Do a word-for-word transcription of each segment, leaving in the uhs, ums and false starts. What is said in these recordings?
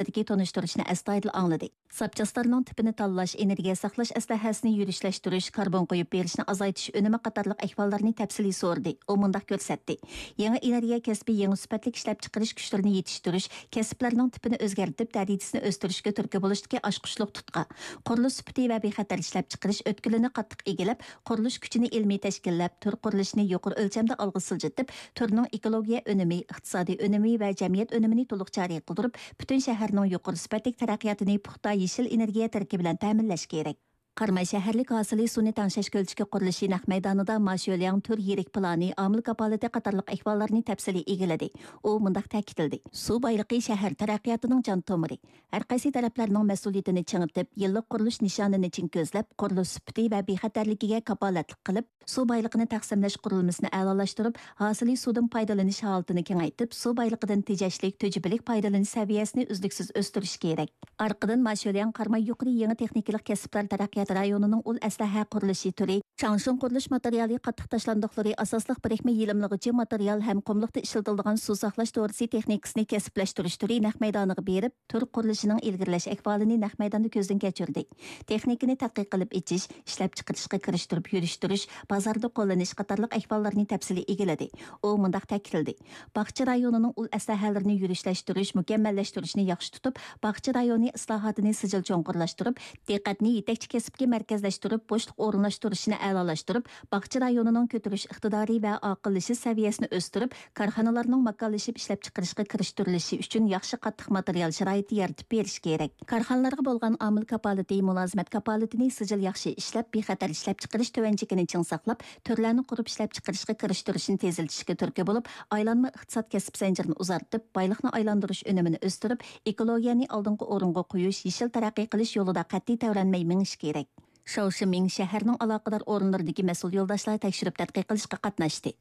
تەپسىلىدىكى تونۇشتۇرۇشنى ئەستايىدىل ئاڭلىدى. زاپچاسلارنىڭ تىپىنى تاللاش، ئېنېرگىيە ساقلاش ئەسلىھەسىنى يۈرۈشلەشتۈرۈش، كاربون قويۇپ بېرىشنى ئازايتىش ئۈنۈمى قاتارلىق ئەھۋاللارنى تەپسىلىي سورىدى. ئۇ مۇنداق كۆرسەتتى: يېڭى ئېنېرگىيە كەسپى يېڭى سۈپەتلىك ئىشلەپچىقىرىش كۈچلىرىنى يېتىشتۈرۈش، كەسىپلەرنىڭ تىپىنى ئۆزگەرتىپ، دەرىجىسىنى ئۆستۈرۈشكە تۈرتكە بولۇشتىكى ئاچقۇچلۇق تۇتقا. قۇرۇلۇش سۈپىتى ۋە بىخەتەر ئىشلەپچىقىرىش ئۆتكىلىنى قاتتىق ئىگىلەپ، قۇرۇلۇش كۈچىنى ئىلمىي تەشكىللەپ، تۈر قۇرۇلۇشىنى يۇقىرى ئۆلچەمدە ئالغا سىلجىتىپ، تۈرنىڭ ئېكولوگىيە ئۈنۈمى، ئىقتىسادىي ئۈنۈمى ۋە جەمئىيەت ئۈنۈمىنى تولۇق جارى قىلدۇرۇپ، پۈتۈن شەھەرنىڭ يۇقىرى سۈپەتلىك تەرەققىياتىنى پۇختا يېشىل ئېنېرگىيە تەركىبى بىلەن تەمىنلەش كېرەك. قاراماي شەھەرلىك ھاسىلى سۇنى تەڭشەش كۆلچىكى قۇرۇلۇشى نەق مەيدانىدا ما شۆلياڭ تۈر يىرىك پىلانى، ئامىل كاپالىتى قاتارلىق ئەھۋاللارنى تەپسىلىي ئىگىلىدى. ئۇ مۇنداق تەكىتلىدى: سۇ بايلىقى شەھەر تەرەققىياتىنىڭ جان تومۇرى. ھەر قايسى تەرەپلەرنىڭ مەسئۇلىيىتىنى چىڭىتىپ، يىللىق قۇرۇلۇش نىشانىنى چىڭ كۆزلەپ، قۇرۇلۇش سۈپىتى ۋە بىخەتەرلىكىگە كاپالەتلىك قىلىپ، سۇ بايلىقىنى تەقسىملەش قۇرۇلمىسىنى ئەلالاشتۇرۇپ، ھاسىلى سۇدىن پايدىلىنىش ھالىتىنى كېڭەيتىپ، سۇ بايلىقىدىن تېجەشلىك، تۈجۈپىلىك پايدىلىنىش سەۋىيەسىنى ئۈزلۈكسىز ئۆستۈرۈش كېرەك. ئارقىدىن ما شۆلياڭ قاراماي يۇقىرى يېڭى تېخنىكىلىق كەسىپلەر تەرەققىيات رايونىنىڭ ئۇل ئەسلىھە قۇرۇلۇشى تۈرى، چاڭشۇن قۇرۇلۇش ماتېرىيالى قاتتىق تاشلاندۇقلىرى ئاساسلىق بىرىكمە يېلىملىغۇچى ماتېرىيال ھەم قۇملۇقتا ئىشلىتىلىدىغان سۇ ساقلاش دورىسى تېخنىكىسىنى كەسىپلەشتۈرۈش تۈرى نەق مەيدانىغا بېرىپ، تۈر قۇرۇلۇشىنىڭ ئىلگىرىلەش ئەھۋالىنى نەق مەيداندا كۆزدىن كەچۈردى. تېخنىكىنى تەتقىق قىلىپ ئېچىش، ئىشلەپچىقىرىشقا كىرىشتۈرۈپ يۈرۈشتۈرۈش، بازاردا قوللىنىش قاتارلىق ئەھۋاللارنى تەپسىلىي ئىگىلىدى. ئۇ مۇنداق تەكىتلىدى: باغچە رايونىنىڭ ئۇل ئەسلىھەلىرىنى يۈرۈشلەشتۈرۈش، مۇكەممەللەشتۈرۈشنى ياخشى تۇتۇپ، باغچە رايونى ئىسلاھاتىنى سىجىل چوڭقۇرلاشتۇرۇپ، دىققەتنى يېتەكچى كەسىپكە مەركەزلەشتۈرۈپ، بوشلۇق ئورۇنلاشتۇرۇشنى ئەلالاشتۇرۇپ، باغچە رايونىنىڭ كۆتۈرۈش ئىقتىدارى ۋە ئاقىللىشىش سەۋىيەسىنى ئۆستۈرۈپ، كارخانىلارنىڭ ماكانلىشىپ ئىشلەپچىقىرىشقا كىرىشتۈرۈلۈشى ئۈچۈن ياخشى قاتتىق ماتېرىيال شارائىتى يارىتىپ بېرىش كېرەك. كارخانىلارغا بولغان ئامىل كاپالىتى، مۇلازىمەت كاپالىتىنى سىجىل ياخشى ئىشلەپ، بىخەتەر ئىشلەپچىقىرىش تۆۋەن چېكىنى چىڭ ساقلاپ، تۈرلەرنى قۇرۇپ ئىشلەپچىقىرىشقا كىرىشتۈرۈشنى تېزلىتىشكە تۈرتكە بولۇپ، ئايلانما ئىقتىساد كەسىپ زەنجىرىنى ئۇزارتىپ، بايلىقنى ئايلاندۇرۇش ئۈنۈمىنى ئۆستۈرۈپ، ئېكولوگىيەنى ئالدىنقى ئورۇنغا قويۇش، يېشىل تەرەققىي قىلىش يولىدا قەتئىي تەۋرەنمەي مېڭىش كېرەك. شاۋ شىمىڭ شەھەرنىڭ ئالاقىدار ئورۇنلىرىدىكى مەسئۇل يولداشلار تەكشۈرۈپ تەتقىق قىلىشقا قاتناشتى.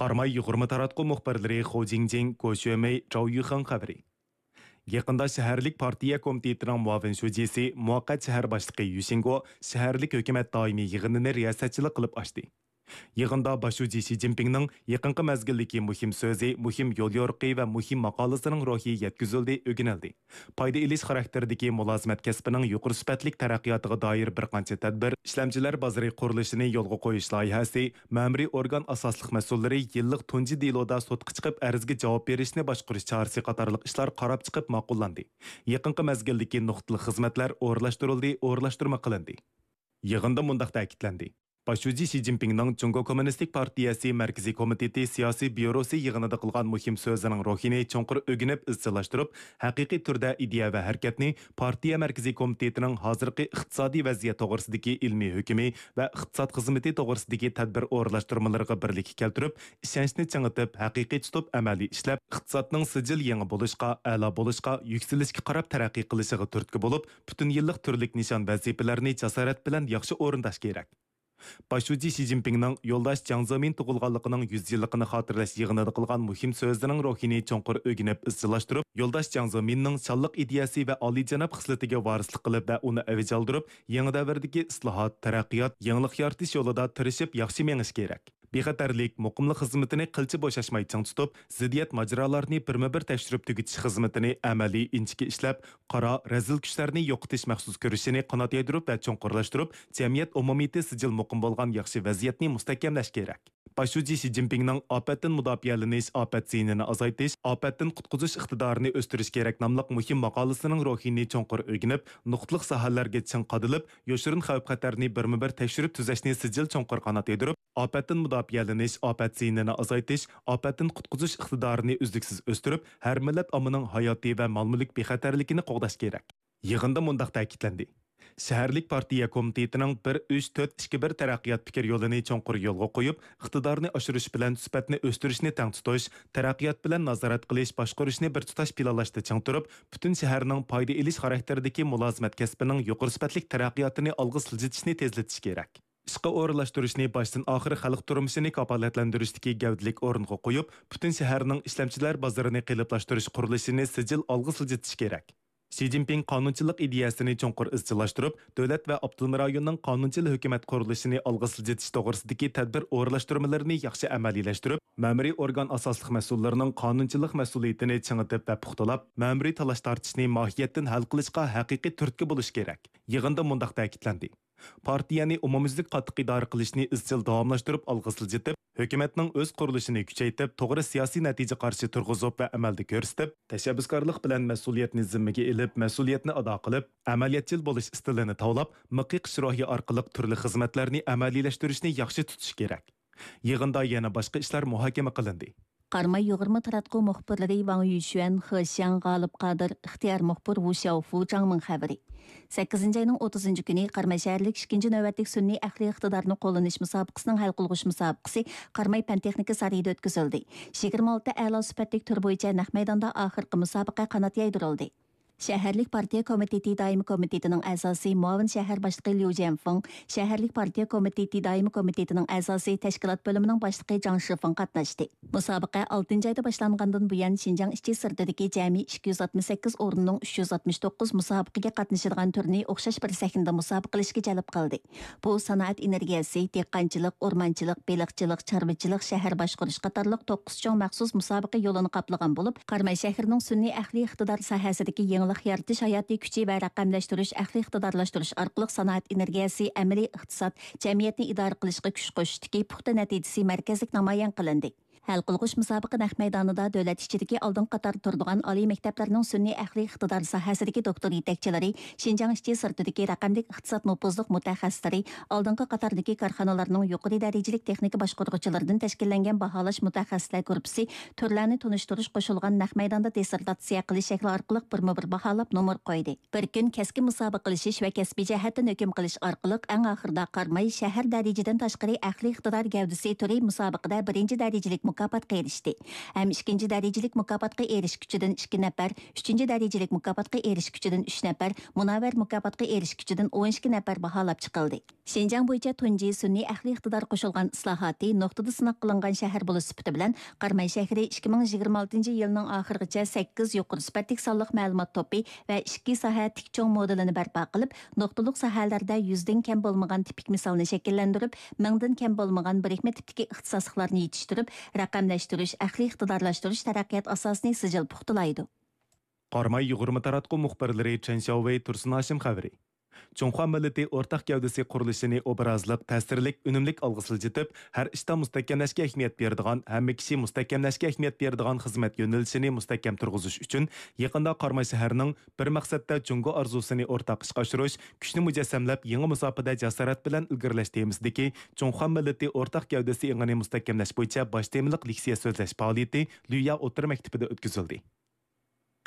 قاراماي يۇغۇرما تاراتقۇ مۇخبىرلىرى خو جىڭجىڭ، گو شۆمېي، جاۋ يۈخېڭ خەۋىرى. يېقىندا شەھەرلىك پارتىيە كومىتېتىنىڭ مۇئاۋىن شۇجىسى، مۇۋەققەت شەھەر باشلىقى يۈ شىنگو شەھەرلىك ھۆكۈمەت دائىمىي يىغىنىنى رىياسەتچىلىك قىلىپ ئاچتى. يىغىندا باش شۇجى شى جىنپىڭنىڭ يېقىنقى مەزگىلدىكى مۇھىم سۆزى، مۇھىم يوليورۇقى ۋە مۇھىم ماقالىسىنىڭ روھى يەتكۈزۈلدى، ئۆگىنىلدى. پايدا ئېلىش خاراكتېرىدىكى مۇلازىمەت كەسپىنىڭ يۇقىرى سۈپەتلىك تەرەققىياتىغا دائىر بىر قانچە تەدبىر، ئىشلەمچىلەر بازىرى قۇرۇلۇشىنى يولغا قويۇش لايىھەسى، مەمۇرىي ئورگان ئاساسلىق مەسئۇللىرى يىللىق تۇنجى دېلودا سوتقا چىقىپ ئەرزگە جاۋاب بېرىشنى باشقۇرۇش چارىسى قاتارلىق ئىشلار قاراپ چىقىپ ماقۇللاندى. يېقىنقى مەزگىلدىكى نۇقتىلىق خىزمەتلەر ئورۇنلاشتۇرۇلدى، ئورۇنلاشتۇرما قىلىندى. يىغىندا مۇنداق تەكىتلەندى: باش شۇجى شى جىنپىڭنىڭ جۇڭگو كوممۇنىستىك پارتىيەسى مەركىزىي كومىتېتى سىياسىي بيۇروسى يىغىنىدا قىلغان مۇھىم سۆزىنىڭ روھىنى چوڭقۇر ئۆگىنىپ ئىزچىللاشتۇرۇپ، ھەقىقىي تۈردە ئىدىيە ۋە ھەرىكەتنى پارتىيە مەركىزىي كومىتېتىنىڭ ھازىرقى ئىقتىسادىي ۋەزىيەت توغرىسىدىكى ئىلمىي ھۆكمى ۋە ئىقتىساد خىزمىتى توغرىسىدىكى تەدبىر ئورۇنلاشتۇرمىلىرىغا بىرلىككە كەلتۈرۈپ، ئىشەنچنى چىڭىتىپ، ھەقىقىي تۇتۇپ ئەمەلىي ئىشلەپ، ئىقتىسادنىڭ سىجىل يېڭى بولۇشقا، ئەلا بولۇشقا، يۈكسىلىشكە قاراپ تەرەققىي قىلىشىغا تۈرتكە بولۇپ، پۈتۈن يىللىق تۈرلۈك نىشان ۋەزىپىلەرنى جاسارەت بىلەن ياخشى ئورۇنداش كېرەك. باش شۇجى شى جىنپىڭنىڭ يولداش جياڭ زېمىن تۇغۇلغانلىقىنىڭ يۈز يىللىقىنى خاتىرىلەش يىغىنىدا قىلغان مۇھىم سۆزىنىڭ روھىنى چوڭقۇر ئۆگىنىپ ئىزچىللاشتۇرۇپ، يولداش جياڭ زېمىننىڭ شانلىق ئىدىيەسى ۋە ئالىيجاناب خىسلىتىگە ۋارىسلىق قىلىپ ۋە ئۇنى ئەۋج ئالدۇرۇپ، يېڭى دەۋردىكى ئىسلاھات، تەرەققىيات، يېڭىلىق يارىتىش يولىدا تىرىشىپ ياخشى مېڭىش كېرەك. بىخەتەرلىك، مۇقىملىق خىزمىتىنى قىلچە بوشاشماي چىڭ تۇتۇپ، زىددىيەت ماجىرالارنى بىرمۇبىر تەكشۈرۈپ تۈگىتىش خىزمىتىنى ئەمەلىي ئىنچىكە ئىشلەپ، قارا، رەزىل كۈچلەرنى يوقىتىش مەخسۇس كۈرىشىنى قانات يايدۇرۇپ ۋە چوڭقۇرلاشتۇرۇپ، جەمئىيەت ئومۇمىيىتى سىجىل مۇقىم بولغان ياخشى ۋەزىيەتنى مۇستەھكەملەش كېرەك. باش شۇجى شى جىنپىڭنىڭ ئاپەتتىن مۇداپىئەلىنىش، ئاپەت زىيىنىنى ئازايتىش، ئاپەتتىن قۇتقۇزۇش ئىقتىدارىنى ئۆستۈرۈش كېرەك ناملىق مۇھىم ماقالىسىنىڭ روھىنى چوڭقۇر ئۆگىنىپ، نۇقتىلىق ساھەلەرگە چىڭ قادىلىپ، يوشۇرۇن خەۋپ-خەتەرنى بىرمۇبىر تەكشۈرۈپ تۈزەشنى سىجىل چوڭقۇر قانات يايدۇرۇپ، ئاپەتتىن مۇداپىئەلىنىش، ئاپەت زىيىنىنى ئازايتىش، ئاپەتتىن قۇتقۇزۇش ئىقتىدارىنى ئۈزلۈكسىز ئۆستۈرۈپ، ھەر مىللەت ئاممىنىڭ ھاياتى ۋە مال-مۈلۈك بىخەتەرلىكىنى قوغداش كېرەك. يىغىندا مۇنداق تەكىتلەندى: شەھەرلىك پارتىيە كومىتېتىنىڭ بىر ئۈچ تۆت ئىككى بىر تەرەققىيات پىكىر يولىنى چوڭقۇر يولغا قويۇپ، ئىقتىدارنى ئاشۇرۇش بىلەن سۈپەتنى ئۆستۈرۈشنى تەڭ تۇتۇش، تەرەققىيات بىلەن نازارەت قىلىش، باشقۇرۇشنى بىر تۇتاش پىلانلاشتا چىڭ تۇرۇپ، پۈتۈن شەھەرنىڭ پايدا ئېلىش خاراكتېرىدىكى مۇلازىمەت كەسپىنىڭ يۇقىرى سۈپەتلىك تەرەققىياتىنى ئالغا سىلجىتىشنى تېزلىتىش كېرەك. ئىشقا ئورۇنلاشتۇرۇشنى باشتىن ئاخىر خەلق تۇرمۇشىنى كاپالەتلەندۈرۈشتىكى گەۋدىلىك ئورۇنغا قويۇپ، پۈتۈن شەھەرنىڭ ئىشلەمچىلەر بازىرىنى قېلىپلاشتۇرۇش قۇرۇلۇشىنى سىجىل ئالغا سىلجىتىش كېرەك. شى جىنپىڭ قانۇنچىلىق ئىدىيەسىنى چوڭقۇر ئىزچىللاشتۇرۇپ، دۆلەت ۋە ئاپتونوم رايوننىڭ قانۇنچىل ھۆكۈمەت قۇرۇلۇشىنى ئالغا سىلجىتىش توغرىسىدىكى تەدبىر ئورۇنلاشتۇرمىلىرىنى ياخشى ئەمەلىيلەشتۈرۈپ، مەمۇرىي ئورگان ئاساسلىق مەسئۇللىرىنىڭ قانۇنچىلىق مەسئۇلىيىتىنى چىڭىتىپ ۋە پۇختىلاپ، مەمۇرىي تالاش-تارتىشنى ماھىيەتتىن ھەل قىلىشقا ھەقىقىي تۈرتكە بولۇش كېرەك. يىغىندا مۇنداق تەكىتلەندى: پارتىيەنى ئومۇميۈزلۈك قاتتىق ئىدارە قىلىشنى ئىزچىل داۋاملاشتۇرۇپ ئالغا سىلجىتىپ، ھۆكۈمەتنىڭ ئۆز قۇرۇلۇشىنى كۈچەيتىپ، توغرا سىياسىي نەتىجە قارىشى تۇرغۇزۇپ ۋە ئەمەلدە كۆرسىتىپ، تەشەببۇسكارلىق بىلەن مەسئۇلىيەتنى زىممىگە ئېلىپ، مەسئۇلىيەتنى ئادا قىلىپ، ئەمەلىيەتچىل بولۇش ئىستىلىنى تاۋلاپ، مىق يېقىش روھى ئارقىلىق تۈرلۈك خىزمەتلەرنى ئەمەلىيلەشتۈرۈشنى ياخشى تۇتۇش كېرەك. يىغىندا يەنە باشقا ئىشلار مۇھاكىمە قىلىندى. قاراماي يۇغۇرما تاراتقۇ مۇخبىرلىرى ۋاڭ يۈشۈەن، خې شياڭ، غالىپ قادىر، ئىختىيار مۇخبىر ۋۇ شياۋفۇ، جاڭ مىڭ خەۋىرى. سەككىزىنچى ئاينىڭ ئوتتۇزىنچى كۈنى قاراماي شەھەرلىك ئىككىنچى نۆۋەتلىك سۈنئىي ئەقلىي ئىقتىدارنى قوللىنىش مۇسابىقىسىنىڭ ھەل قىلغۇچ مۇسابىقىسى قاراماي پەن تېخنىكا سارىيىدا ئۆتكۈزۈلدى. يىگىرمە ئالتە ئەلا سۈپەتلىك تۈر بويىچە نەق مەيداندا ئاخىرقى مۇسابىقە قانات يايدۇرۇلدى. شەھەرلىك پارتىيە كومىتېتى دائىمىي كومىتېتىنىڭ ئەزاسى، مۇئاۋىن شەھەر باشلىقى ليۇ جيەنفېڭ، شەھەرلىك پارتىيە كومىتېتى دائىمىي كومىتېتىنىڭ ئەزاسى، تەشكىلات بۆلۈمىنىڭ باشلىقى جاڭ شىفېڭ قاتناشتى. مۇسابىقە ئالتىنچى ئايدا باشلانغاندىن بۇيان، شىنجاڭ ئىچى سىرتىدىكى جەمئىي ئىككى يۈز ئاتمىش سەككىز ئورۇننىڭ ئۈچ يۈز ئاتمىش توققۇز مۇسابىقىگە قاتنىشىدىغان تۈرنى ئوخشاش بىر سەھنىدە مۇسابىقىلىشىشكە جەلپ قىلدى. بۇ سانائەت ئېنېرگىيەسى، دېھقانچىلىق، ئورمانچىلىق، بېلىقچىلىق، چارۋىچىلىق، شەھەر باشقۇرۇش قاتارلىق توققۇز چوڭ مەخسۇس مۇسابىقە يولىنى قاپلىغان بولۇپ، قاراماي شەھىرىنىڭ سۈنئىي ئەقلىي ئىقتىدار ساھەسىدىكى يېڭىلىق يارىتىش ھاياتىي كۈچى ۋە رەقەملەشتۈرۈش، ئەقلىي ئىقتىدارلاشتۇرۇش ئارقىلىق سانائەت ئېنېرگىيەسى، ئەمەلىي ئىقتىساد، جەمئىيەتنى ئىدارە قىلىشقا كۈچ قوشۇشتىكى پۇختا نەتىجىسى مەركەزلىك نامايان قىلىندى. ھەل قىلغۇچ مۇسابىقە نەق مەيدانىدا دۆلەت ئىچىدىكى ئالدىنقى قاتاردا تۇرىدىغان ئالىي مەكتەپلەرنىڭ سۈنئىي ئەقلىي ئىقتىدار ساھەسىدىكى دوكتور يېتەكچىلىرى، شىنجاڭ ئىچى سىرتىدىكى رەقەملىك ئىقتىساد نوپۇزلۇق مۇتەخەسسىسلىرى، ئالدىنقى قاتاردىكى كارخانىلارنىڭ يۇقىرى دەرىجىلىك تېخنىكا باشقۇرغۇچىلىرىدىن تەشكىللەنگەن باھالاش مۇتەخەسسىسلەر گۇرۇپپىسى تۈرلەرنى تونۇشتۇرۇش قوشۇلغان نەق مەيداندا دىسسېرتاتسىيە قىلىش شەكلى ئارقىلىق بىرمۇبىر باھالاپ نومۇر قويدى. بىر كۈن كەسكىن مۇسابىقىلىشىش ۋە كەسپىي جەھەتتىن ھۆكۈم قىلىش ئارقىلىق، ئەڭ ئاخىرىدا قاراماي شەھەر دەرىجىدىن تاشقىرى ئەقلىي ئىقتىدار گەۋدىسى تۈرى مۇسابىقىدە بىرىنچى دەرىجىلىك مۇكاپاتقا ئېرىشتى ھەم ئىككىنچى دەرىجىلىك مۇكاپاتقا ئېرىشكۈچىدىن ئىككى نەپەر، ئۈچىنچى دەرىجىلىك مۇكاپاتقا ئېرىشكۈچىدىن ئۈچ نەپەر، مۇنەۋۋەر مۇكاپاتقا ئېرىشكۈچىدىن ئون ئىككى نەپەر باھالاپ چىقىلدى. شىنجاڭ بويىچە تۇنجى سۈنئىي ئەقلىي ئىقتىدار قوشۇلغان ئىسلاھاتى نۇقتىدا سىناق قىلىنغان شەھەر بولۇش سۈپىتى بىلەن، قاراماي شەھىرى ئىككى مىڭ يىگىرمە ئالتىنچى يىلنىڭ ئاخىرىغىچە سەككىز يۇقىرى سۈپەتلىك سانلىق مەلۇمات توپى ۋە ئىككى ساھە تىك چوڭ مودېلىنى بەرپا قىلىپ، نۇقتىلىق ساھەلەردە يۈزدىن كەم بولمىغان تىپىك مىسالنى شەكىللەندۈرۈپ، مىڭدىن كەم بولمىغان بىرىكمە تىپتىكى ئىختىساسلىقلارنى يېتىشتۈرۈپ، رەقەملەشتۈرۈش، ئەقلىي ئىقتىدارلاشتۇرۇش تەرەققىيات ئاساسىنى سىجىل پۇختىلايدۇ. قاراماي يۇغۇرما تاراتقۇ مۇخبىرلىرى چېن شياۋۋېي، تۇرسۇن ھاشىم خەۋىرى. جۇڭخۇا مىللىتى ئورتاق گەۋدىسى قۇرۇلۇشىنى ئوبرازلىق، تەسىرلىك، ئۈنۈملۈك ئالغا سىلجىتىپ، ھەر ئىشتا مۇستەھكەملەشكە ئەھمىيەت بېرىدىغان، ھەممە كىشى مۇستەھكەملەشكە ئەھمىيەت بېرىدىغان خىزمەت يۆنىلىشىنى مۇستەھكەم تۇرغۇزۇش ئۈچۈن، يېقىندا قاراماي شەھىرىنىڭ بىر مەقسەتتە جۇڭگو ئارزۇسىنى ئورتاق ئىشقا ئاشۇرۇش، كۈچنى مۇجەسسەملەپ، يېڭى مۇساپىدە جاسارەت بىلەن ئىلگىرىلەش تېمىسىدىكى جۇڭخۇا مىللىتى ئورتاق گەۋدىسى ئېڭىنى مۇستەھكەملەش بويىچە باش تېمىلىق لېكسىيە سۆزلەش پائالىيىتى لۈييا ئوتتۇرا مەكتىپىدە ئۆتكۈزۈلدى.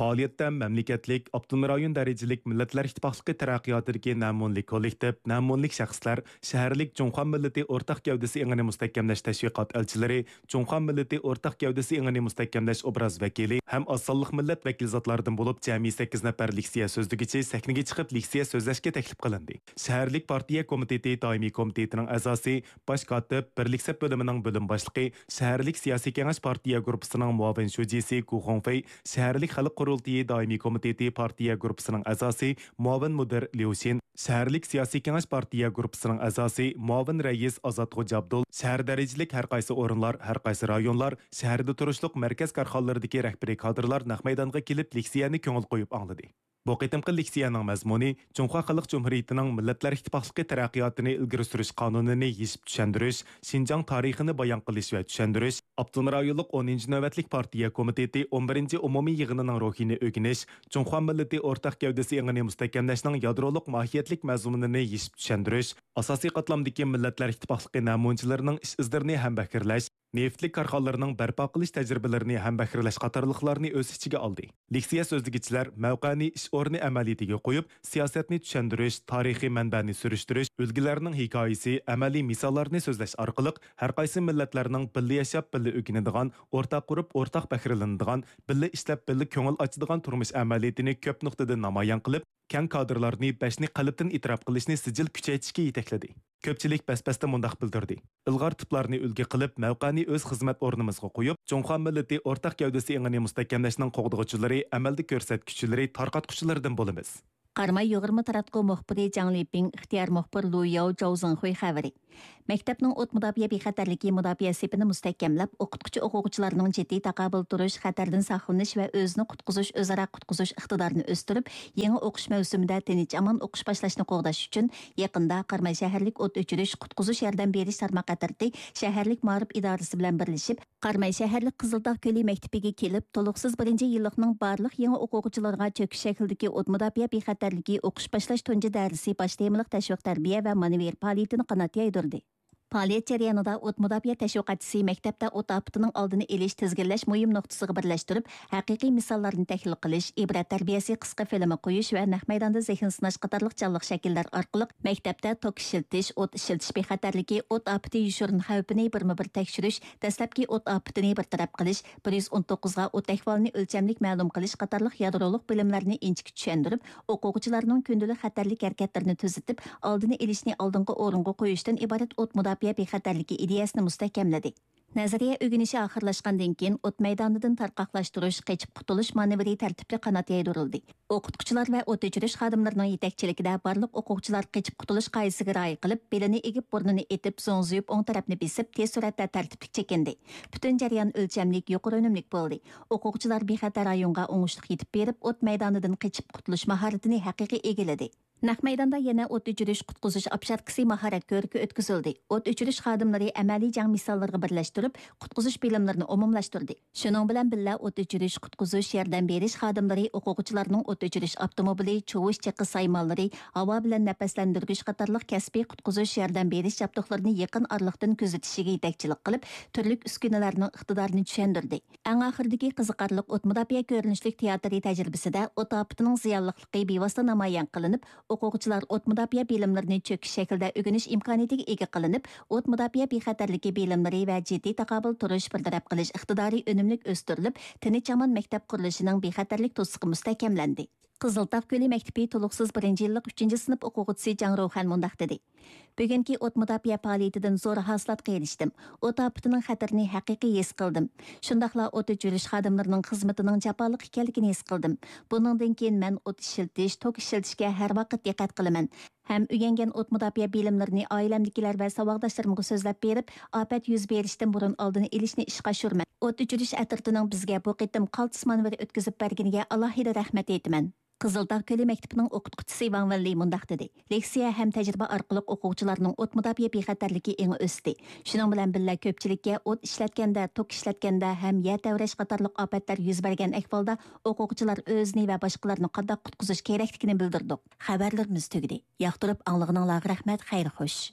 پائالىيەتتە مەملىكەتلىك، ئاپتونوم رايون دەرىجىلىك مىللەتلەر ئىتتىپاقلىقى تەرەققىياتىدىكى نەمۇنىلىك كوللېكتىپ، نەمۇنىلىك شەخسلەر، شەھەرلىك جۇڭخۇا مىللىتى ئورتاق گەۋدىسى ئېڭىنى مۇستەھكەملەش تەشۋىقات ئەلچىلىرى، جۇڭخۇا مىللىتى ئورتاق گەۋدىسى ئېڭىنى مۇستەھكەملەش ئوبراز ۋەكىلى ھەم ئاز سانلىق مىللەت ۋەكىل زاتلاردىن بولۇپ جەمئىي سەككىز نەپەر لېكسىيە سۆزلىگۈچى سەھنىگە چىقىپ لېكسىيە سۆزلەشكە تەكلىپ قىلىندى. شەھەرلىك پارتىيە كومىتېتى دائىمىي كومىتېتىنىڭ ئەزاسى، باش كاتىپ، بىرلىك سەپ بۆلۈمىنىڭ بۆلۈم باشلىقى، شەھەرلىك سىياسىي كېڭەش پارتىيە گۇرۇپپىسىنىڭ مۇئاۋىن شۇجىسى گۇ خۇڭفېي، شەھەرلىك خەلق قۇرۇلتىيى دائىمىي كومىتېتى پارتىيە گۇرۇپپىسىنىڭ ئەزاسى، مۇئاۋىن مۇدىر ليۇ شىن، شەھەرلىك سىياسىي كېڭەش پارتىيە گۇرۇپپىسىنىڭ ئەزاسى، مۇئاۋىن رەئىس ئازات خوجا ئابدۇل، شەھەر دەرىجىلىك ھەر قايسى ئورۇنلار، ھەر قايسى رايونلار، شەھەردە تۇرۇشلۇق مەركەز كارخانىلىرىدىكى رەھبىرىي كادىرلار نەق مەيدانغا كېلىپ لېكسىيەنى كۆڭۈل قويۇپ ئاڭلىدى. بۇ قېتىمقى لېكسىيەنىڭ مەزمۇنى جۇڭخۇا خەلق جۇمھۇرىيىتىنىڭ مىللەتلەر ئىتتىپاقلىقى تەرەققىياتىنى ئىلگىرى سۈرۈش قانۇنىنى يېشىپ چۈشەندۈرۈش، شىنجاڭ تارىخىنى بايان قىلىش ۋە چۈشەندۈرۈش، ئاپتونوم رايونلۇق ئونىنچى نۆۋەتلىك پارتىيە كومىتېتى ئون بىرىنچى ئومۇمىي يىغىنىنىڭ روھىنى ئۆگىنىش، جۇڭخۇا مىللىتى ئورتاق گەۋدىسى ئېڭىنى مۇستەھكەملەشنىڭ يادرولۇق ماھىيەتلىك مەزمۇنىنى يېشىپ چۈشەندۈرۈش، ئاساسىي قاتلامدىكى مىللەتلەر ئىتتىپاقلىقى نەمۇنىچىلىرىنىڭ ئىش ئىزلىرىنى ھەمبەھىرلەش، نېفىتلىك كارخانىلىرىنىڭ بەرپا قىلىش تەجرىبىلىرىنى ھەمبەھىرلەش قاتارلىقلارنى ئۆز ئىچىگە ئالدى. لېكسىيە سۆزلىگۈچىلەر مەۋقەنى ئىش ئورنى ئەمەلىيىتىگە قويۇپ، سىياسەتنى چۈشەندۈرۈش، تارىخىي مەنبەنى سۈرۈشتۈرۈش، ئۈلگىلەرنىڭ ھېكايىسى، ئەمەلىي مىساللارنى سۆزلەش ئارقىلىق ھەر قايسى مىللەتلەرنىڭ بىللە ياشاپ، بىللە ئۆگىنىدىغان، ئورتاق قۇرۇپ، ئورتاق پەخىرلىنىدىغان، بىللە ئىشلەپ، بىللە كۆڭۈل ئاچىدىغان تۇرمۇش ئەمەلىيىتىنى كۆپ نۇقتىدىن نامايان قىلىپ، كەڭ كادىرلارنى بەشنى قەلبتىن ئېتىراپ قىلىشنى سىجىل كۈچەيتىشكە يېتەكلىدى. كۆپچىلىك بەس-بەستە مۇنداق بىلدۈردى: ئىلغار تىپلارنى ئۈلگە قىلىپ، مەۋقەنى ئۆز خىزمەت ئورنىمىزغا قويۇپ، جۇڭخۇا مىللىتى ئورتاق گەۋدىسى ئېڭىنى مۇستەھكەملەشنىڭ قوغدىغۇچىلىرى، ئەمەلدە كۆرسەتكۈچىلىرى، تارقاتقۇچىلىرىدىن بولىمىز. قاراماي يۇغۇرما تاراتقۇ مۇخبىرى جاڭ لىپىڭ، ئىختىيار مۇخبىر لۇ ياۋ جاۋزېڭخۇي خەۋىرى. مەكتەپنىڭ ئوت مۇداپىئە بىخەتەرلىكى مۇداپىئە سېپىنى مۇستەھكەملەپ، ئوقۇتقۇچى-ئوقۇغۇچىلارنىڭ جىددىي تاقابىل تۇرۇش، خەتەردىن ساقلىنىش ۋە ئۆزىنى قۇتقۇزۇش، ئۆزئارا قۇتقۇزۇش ئىقتىدارىنى ئۆستۈرۈپ، يېڭى ئوقۇش مەۋسۇمىدا تىنچ-ئامان ئوقۇش باشلاشنى قوغداش ئۈچۈن، يېقىندا قاراماي شەھەرلىك ئوت ئۆچۈرۈش، قۇتقۇزۇش ياردەم بېرىش تارماق ئەترىتى شەھەرلىك مائارىپ ئىدارىسى بىلەن بىرلىشىپ، قاراماي شەھەرلىك قىزىلتاغ كۆلى مەكتىپىگە كېلىپ، تولۇقسىز بىرىنچى يىللىقنىڭ بارلىق يېڭى ئوقۇغۇچىلىرىغا چۆكۈش شەكلىدىكى ئوت مۇداپىئە بىخەتەرلىكى ئوقۇش باشلاش تۇنجى دەرسى باش تېمىلىق تەشۋىق تەربىيە ۋە مانېۋىر پائالىيىتىنى قانات يايدۇردى. پائالىيەت جەريانىدا ئوت مۇداپىئە تەشۋىقاتچىسى مەكتەپتە ئوت ئاپىتىنىڭ ئالدىنى ئېلىش، تىزگىنلەش مۇھىم نۇقتىسىغا بىرلەشتۈرۈپ، ھەقىقىي مىساللارنى تەھلىل قىلىش، ئىبرەت تەربىيەسى قىسقا فىلىمى قويۇش ۋە نەق مەيداندا زېھىن سىناش قاتارلىق جانلىق شەكىللەر ئارقىلىق مەكتەپتە توك ئىشلىتىش، ئوت ئىشلىتىش بىخەتەرلىكى، ئوت ئاپىتى يوشۇرۇن خەۋپىنى بىرمۇ بىر تەكشۈرۈش، دەسلەپكى ئوت ئاپىتىنى بىر تەرەپ قىلىش، بىر يۈز ئون توققۇزغا ئوت ئەھۋالىنى ئۆلچەملىك مەلۇم قىلىش قاتارلىق يادرولۇق بىلىملەرنى ئىنچىكە چۈشەندۈرۈپ، ئوقۇغۇچىلارنىڭ كۈندىلىك خەتەرلىك ھەرىكەتلىرىنى تۈزىتىپ، ئالدىنى ئېلىشنى ئالدىنقى ئورۇنغا قويۇشتىن ئىبارەت ئوت مۇداپىئە بىخەتەرلىكى ئىدىيەسىنى مۇستەھكەملىدى. نەزەرىيە ئۆگىنىشى ئاخىرلاشقاندىن كېيىن، ئوت مەيدانىدىن تارقاقلاشتۇرۇش، قېچىپ قۇتۇلۇش مانېۋىرى تەرتىپلىك قانات يايدۇرۇلدى. ئوقۇتقۇچىلار ۋە ئوت ئۆچۈرۈش خادىملىرىنىڭ يېتەكچىلىكىدە بارلىق ئوقۇغۇچىلار قېچىپ قۇتۇلۇش قائىدىسىگە رىئايە قىلىپ، بېلىنى ئېگىپ، بۇرنىنى ئېتىپ، زوڭزىيىپ، ئوڭ تەرەپنى بېسىپ، تېز سۈرئەتتە تەرتىپلىك چېكىندى. پۈتۈن جەريان ئۆلچەملىك، يۇقىرى ئۈنۈملۈك بولدى. ئوقۇغۇچىلار بىخەتەر رايونغا ئوڭۇشلۇق يېتىپ بېرىپ، ئوت مەيدانىدىن قېچىپ قۇتۇلۇش ماھارىتىنى ھەقىقىي ئىگىلىدى. نەق مەيداندا يەنە ئوت ئۆچۈرۈش، قۇتقۇزۇش ئاپشاركىسى ماھارەت كۆرىكى ئۆتكۈزۈلدى. ئوت ئۆچۈرۈش خادىملىرى ئەمەلىي جەڭ مىساللىرىغا بىرلەشتۈرۈپ، قۇتقۇزۇش بىلىملىرىنى ئومۇملاشتۇردى. شۇنىڭ بىلەن بىللە، ئوت ئۆچۈرۈش، قۇتقۇزۇش، ياردەم بېرىش خادىملىرى ئوقۇغۇچىلارنىڭ ئوت ئۆچۈرۈش ئاپتوموبىلى، چۇۋۇش چېقى سايمانلىرى، ھاۋا بىلەن نەپەسلەندۈرگۈچ قاتارلىق كەسپىي قۇتقۇزۇش، ياردەم بېرىش جابدۇقلىرىنى يېقىن ئارىلىقتىن كۆزىتىشىگە يېتەكچىلىك قىلىپ، تۈرلۈك ئۈسكۈنىلەرنىڭ ئىقتىدارىنى چۈشەندۈردى. ئەڭ ئاخىرىدىكى قىزىقارلىق ئوت مۇداپىئە كۆرۈنۈشلۈك تىياتىرى تەجرىبىسىدە ئوت ئاپىتىنىڭ زىيانلىقلىقى بىۋاسىتە نامايان قىلىنىپ، ئوقۇغۇچىلار ئوت مۇداپىئە بىلىملىرىنى چۆكۈش شەكلىدە ئۆگىنىش ئىمكانىيىتىگە ئىگە قىلىنىپ، ئوت مۇداپىئە بىخەتەرلىكى بىلىملىرى ۋە جىددىي تاقابىل تۇرۇش، بىر تەرەپ قىلىش ئىقتىدارى ئۈنۈملۈك ئۆستۈرۈلۈپ، تىنچ-ئامان مەكتەپ قۇرۇلۇشىنىڭ بىخەتەرلىك توسۇقى مۇستەھكەملەندى. قىزىلتاغ كۆلى مەكتىپى تولۇقسىز بىرىنچى يىللىق ئۈچىنچى سىنىپ ئوقۇغۇچىسى جاڭ روخەن مۇنداق دېدى: بۈگۈنكى ئوت مۇداپىئە پائالىيىتىدىن زور ھاسىلاتقا ئېرىشتىم. ئوت ئاپىتىنىڭ خەتىرىنى ھەقىقىي ھېس قىلدىم. شۇنداقلا ئوت ئۆچۈرۈش خادىملىرىنىڭ خىزمىتىنىڭ جاپالىق ئىكەنلىكىنى ھېس قىلدىم. بۇنىڭدىن كېيىن مەن ئوت ئىشلىتىش، توك ئىشلىتىشكە ھەر ۋاقىت دىققەت قىلىمەن ھەم ئۆگەنگەن ئوت مۇداپىئە بىلىملىرىنى ئائىلەمدىكىلەر ۋە ساۋاقداشلىرىمغا سۆزلەپ بېرىپ، ئاپەت يۈز بېرىشتىن بۇرۇن ئالدىنى ئېلىشنى ئىشقا ئاشۇرىمەن. ئوت ئۆچۈرۈش ئەترىتىنىڭ بىزگە بۇ قېتىم قالتىس مانېۋىر ئۆتكۈزۈپ بەرگىنىگە ئالاھىدە رەھمەت ئېيتىمەن. قىزىلتاغ كۆلى مەكتىپىنىڭ ئوقۇتقۇچىسى ۋاڭ ۋېنلى مۇنداق دېدى: لېكسىيە ھەم تەجرىبە ئارقىلىق ئوقۇغۇچىلارنىڭ ئوت مۇداپىئە بىخەتەرلىكى ئېڭى ئۆستى. شۇنىڭ بىلەن بىللە، كۆپچىلىككە ئوت ئىشلەتكەندە، توك ئىشلەتكەندە ھەم يەر تەۋرەش قاتارلىق ئاپەتلەر يۈز بەرگەن ئەھۋالدا ئوقۇغۇچىلار ئۆزىنى ۋە باشقىلارنى قانداق قۇتقۇزۇش كېرەكلىكىنى بىلدۈردۇق. خەۋەرلىرىمىز تۈگىدى. ياقتۇرۇپ ئاڭلىغىنىڭلارغا رەھمەت، خەير خوش.